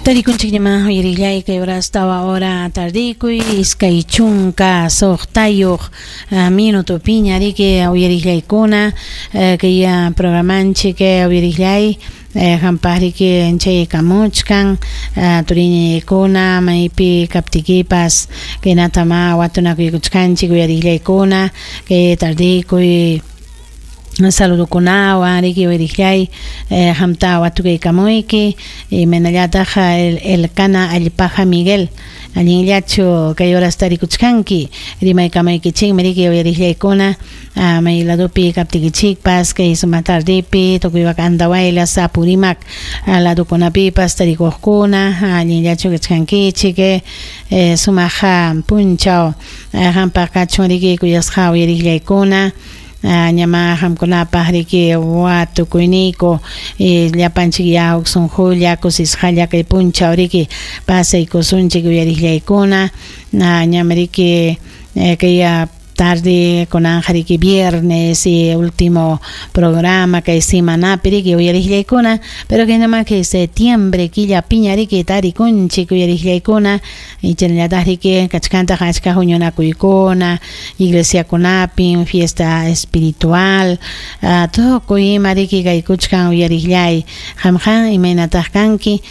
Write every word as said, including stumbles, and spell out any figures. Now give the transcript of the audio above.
Tarikunchikñamá uyarillay kay horas tawa hora tardikuy iskay chunka suqtayuq minutupiña riki uyarillaykuna kay programanchik uyarillay hampaq riki chaykamuchkan turiñañaykuna maypi kaptikipas kaynatama watunakuykuchkanchik uyarillaykuna kay tardikuy saludukunawan riki uyarillay hamta watukaykamuyki imaynallataq el Elcana Allpaja Miguel allinllachu kay horas tarikuchkanki rimaykamaykichikmi riki uyarillaykuna may ladupi kaptikichikpas kay sumaq tardipi tukuywak Andahuaylas Apurímac ladukunapipas tarikuqkuna allinllachu kachkankichik sumaq punchaw hampaq kachun riki kuyasqa uyarillaykuna ñama hamkunapaq riki watukuyniyku llapanchik ya huk sunqulla kusisqalla kay punchaw riki pasaykusunchik uyarillaykuna ñam riki kay tarde kunanja riki viernes y último programa kay semanapi riki uyarillaykuna pero kaynama kay septiembre killapiña riki tarikunchik uyarillaykuna chaynallataq riki kachkantaq achka huñunakuykuna iglesiakunapin fiesta espiritual tukuy ima riki kaykuchkan uyarillay qamqa imaynataq kanki.